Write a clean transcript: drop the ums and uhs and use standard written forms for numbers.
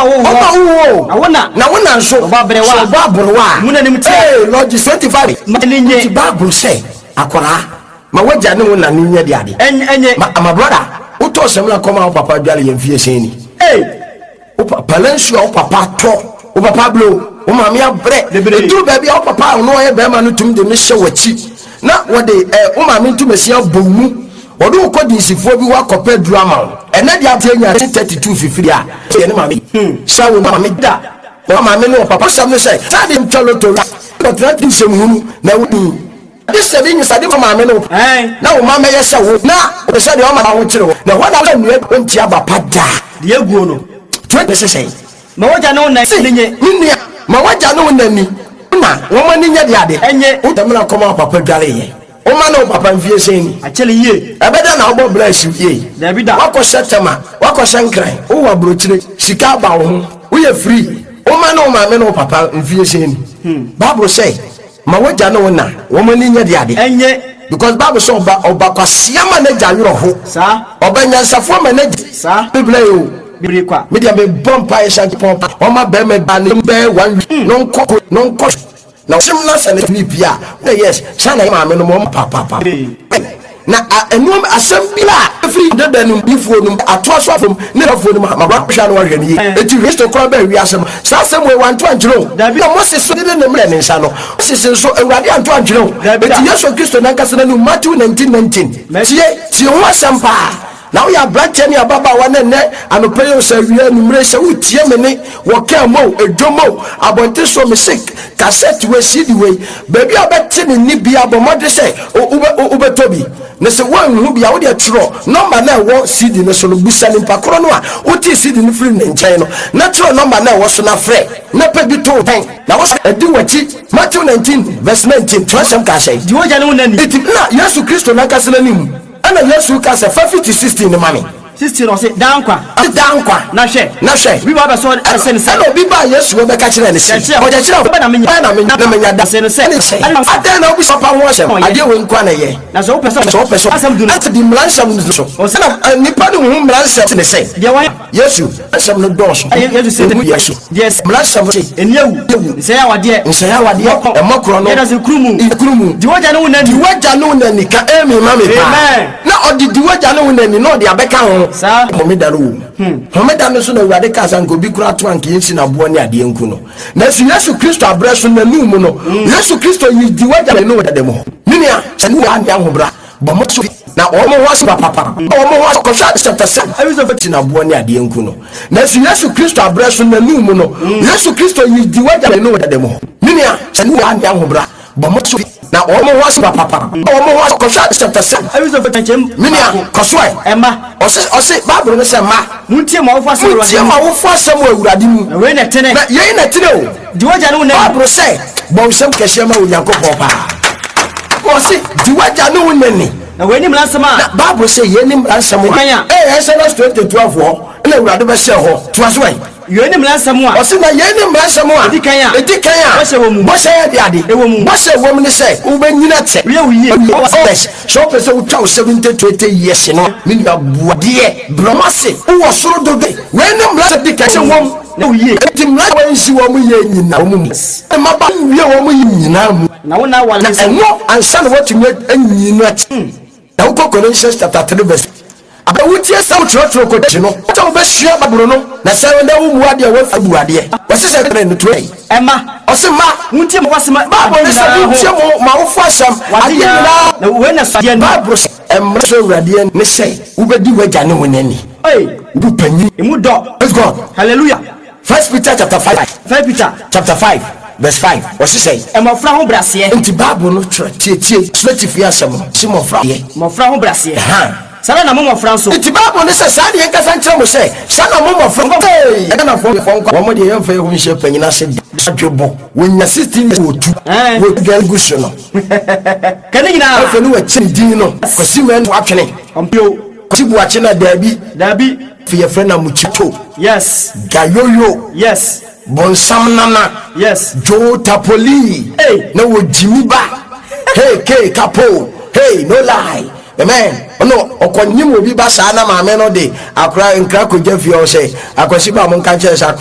Ɔno na ɔwoo Ɔno na woɔ. ɔwoo wo. Na wo na. Na wo na nso. Ɔbɔ aberewa. Sɛ ɔbɔ aberewa a. Mmu n'anim tia. Ee, Lord 25. Ma n'ani nnye. Nti Bible sɛ, akwaraa, ma w'agya ne wo na no nyɛ de ade. Ɛnyɛ. Ma brother, wotɔɔ samina kɔma wo papa dwale yɛ mfie sɛn ni? Ee. Wo papa nsuo a wo papa tɔ, wo papa abrɛ o, wo maame abrɛ. Bebree. Ɛduru baabi a wo papa a ɔno ɔyɛ bɛrima no tumi de ne hyɛ w'akyi na wɔde wo maame ntomasin abɔ wo mu. Wɔde wo kɔ dinsifoɔ bi hɔ akɔpɛ aduru ama wo. Ɛnɛ deɛ ateɛ nya 32 fifiri a, yɛ ne maame. Hyɛ wo maame da. Wo maame ne wo papa asɛm ne sɛ, saa de ntwa lotto kɔtena ti nsɛm hunu na woni. De sɛ de nyisa de ma maame ne wo na wo ma mɛyɛ sɛ wo na wo sɛ deɛ ɔma ho kyerɛ wo na hɔ na wo nnua ɔnti aba pa da. Deɛ aguo no. Twerɛ sɛ sɛn? Ma w'agya ne wo na Se, ani nye. Me nua, ma w'agya ne wo na ani na wɔn ani nyɛ de ade. Ɛnye. Wo dɛm na kɔma wo papa dwareeɛ. Woma ne wo papa mfie sɛn ni? Akyɛre yie. Ɛbɛdɛn na wobɔ bra asi yie? Daabi da. Woakɔhyɛ Tema, woakɔhyɛ Nkran, wowɔ aburokyire, sika aba wo ho, woyɛ free. Woma ne wo maame ne wo papa mfie sɛn ni? Bible sɛ, ma w'agya ne wo na wɔn ani nyɛ de ade. Ɛnye. Because Bible sɛ ɔba ɔba kwasea ma n'agya werɛ ho. Saa. Ɔba nyansafoɔ ma n'agya. Saa. Biblia yi o. Bebree kwa. Me deɛ mebɔ mpaeɛ sɛ Nyankopɔn ɔma bɛrima bi ne bɛyɛ one week na ɔnkɔ ko na ɔnkɔ na ɔkyem na sɛ ne ne pie a na yes saa na yɛ maame no mo papaapa na ɛnoɔm asɛm bi a ɛfiri dada no difoɔ no atoa so afom ne afoɔ no mu ma wɔahwɛ na wɔahwɛ no yie eti Kristo koraa bɛɛ wiase no saa asɛm wei wanto ankyerɛ o na Moses so de ne mmerɛ ne nsa no Moses nso Awurade anto ankyerɛ o eti Yesu Kristo nankasa n'anum Matthew 19:19 tie tie ho asɛm paa. Na woyɛ aberanteɛ ne ababaawa na ɛnnɛ anɔpa yi o, sɛ awia, anwummere, sɛ woretie me nne wɔ kaa mu o, edwom o, abɔnten so o, mese kasɛt wei, CD wei, baabi a wobɛte me nne biara, bɔ mmɔden sɛ wobɛtɔ bi. Na sɛ woanhu bi a, wo deɛ twerɛ nɔmba no a ɛwɔ CD no so no, bisa nipa korɔ no a wotee CD no firii ne nkyɛn no, na twerɛ nɔmba no a ɛwɔ so na frɛ, na pɛ bi to wo pɛn, na wo adi w'akyi. Matthew 19 verse 19, twerɛsɛm kaa sɛn? Di w'agya ne wo na ni. Enti na Yesu Kristo n'ankasa n'anim. Ɛnna Yesu ka sɛ, Fa fiti 16 no ma me. 16 ɔse, Daa nkwa. Ɔse, Daa nkwa. Na hwɛ. Na hwɛ. Obi ba bɛsɔ ɛsɛ ne sɛ. Ɛnna obi baa Yesu hɔ bɛka kyerɛɛ no se, Ɔkyerɛkyerɛfo. Ɔkyerɛkyerɛfo, Bɛn na menya. Bɛn na menya na manya daa. Ɔse no sɛ, Ɛne sɛ, Adɛn na. Adɛn na wobisa papa ho asɛm? Adeɛ wei nko ara na ɛyɛ. Na sɛ wopɛ sɛ. Sɛ wopɛ sɛ. Asɛm du no. Ɛnna di mmara nsɛm no so. Ɔse. Ɛnna nnipa no hu mmara nsɛm ne sɛ. Deɛ wɔayɛ. Yesu nsɛm no dɔɔso. Yesu se. Emu yɛ so. Deɛ ɛsɛ. Mmara nsɛm no se. Nni awu. Awu. Nsɛe awadeɛ. Nsɛe awadeɛ. Mmɔ korɔno. Yɛ danse kuru mu. Kuru mu. Di w'agya ne wo na ni. Di w'agya ne wo na ni. Ka amen ma me paa. Amen. Na ɔde di w'agya ne wo na ni na ɔde abɛka ho. Saa. Homeda no wɔ mu. Homeda no so na Awurade kaa sɛ anka obi koraa to anka yɛnsi no aboɔ ne adeɛ nku no. Nanso Yesu Kristo abrɛ so n'anum mu no, Yesu Kristo yi di w'agya ne wo na mu hɔ. Me nua, sɛ ne wɔ ahobrɛ bɔ mo so na wɔn ho ase papapa wɔn ho ase kɔhwɛ Acts chapter 7 gyina boɔ ne adeɛ nku no. Nanso Yesu Kristo abrɛ so n'anum mu no, Yesu Kristo yi di w'agya ne wo dada mu hɔ. Me nua, sɛ ne wɔ ahobrɛ bɔ mo so na wɔn ho ase papapa wɔn ho ase kɔhwɛ Acts chapter 7. Me nua, kɔ so ɛ. Ɔse ɔse Bible no sɛ mma. Montie mo awofo asɛm wɔ Montie mo awofo asɛm wɔ Awurade mu. Na wei na ɛtene. Na yei na ɛtene o. Di w'agya ne wo na ni. Bible sɛ bɔ nsɛm kɛseɛ ma Onyankopɔn paa. Ɔse di w'agya ne wo na ni. Na wei ne mmara nsɛm a. Na Bible sɛ yei ne mmara nsɛm a. Kan a. Ee Exodus 20:12 hɔ na Awurade bɛhyɛɛ hɔ. Toa so ɛ. Yei ne mmara nsɛm a. Ɔse na yei ne mmara nsɛm a. Edi kan a. Edi kan a. Bɔhyɛ wɔ mu. Bɔhyɛ yɛ de ade. Ɛwɔ mu. Bɔhyɛ wɔ mu ne sɛ wobɛnyini akyɛ. Wie wo yie. Sɛ wopɛ sɛ wotwa wo 70 to 80 years no, me nua bu adeɛ, brɛ wɔn ase, wowɔ soro dodo. Wei ne mmara sɛ di kan sɛ wɔn. Na wo yie. Enti mmara a wɔansi wɔn yie nyinaa wɔn mu. Mmabaa nwie wɔn yie nyinaa mu. Na wo na aware Na ɛno ansa na woatumi anyi no akyi. Na wokɔ Colossians chapter 3 verse. Abɛ wotie sɛ wokyerɛkyerɛ kɔkyi no, sɛ wobɛsua Bible no, na sɛ na wommu adeɛ a woafi bu adeɛ. Wɔse sɛ three no to ei. Ɛma. Ɔse mma. Montie mo awofo asɛm Bible ne sɛ ade nyinaa ho. montie mo awofo asɛm Wɔ ade adeɛ nyinaa. nyinaa. Na wei na sɔ adeɛ ani. Bible sɛ mmara sɛ Awurade ne sɛ wobɛdi w'agya ne wo na ni. Ei. Wo panyin. Emu dɔ. Praise God. Hallelujah. First Peter chapter 5. First Peter. Chapter 5 verse 5. Wɔse sɛ. Mmɔfra ho braseɛ. Nti Bible no twerɛ tietie srɛtifie asɛm no se mmɔfra deɛ. Mmɔfra ho braseɛ. Ɛhaa. Saa na mo mmɔfra nso. Nti Bible no sɛ saa deɛ nkasa nkyerɛ mo sɛ saa na mo mmɔfra. Hey! Ghanafoɔ nkwa wɔn deɛ yɛmfa yɛn ho nhyɛ panyin ase da. Adwebɔ wɔnya 16 years wɔtu wɔtu dwan gu so no. Ka ne nyinaa. Afei ne wɔakyɛ ne din no Kwasi Manu Atwene. Ɔmpio. Kwasi Boakye na daabi. Daabi. Afei yɛfrɛ no Amukyito. Yes. Gayoyo. Yes. Bonsam Nana. Yes. Joe Tapoli. Hey. Na wɔ Jimmy ba. Hey K Kapo. Hey no lie. Amen. Ɔno ɔkɔnyim obi ba saa na maame no de akora nkra kɔgya fie hɔ sɛ akwasi ba mo nka nkyerɛ sɛ akora.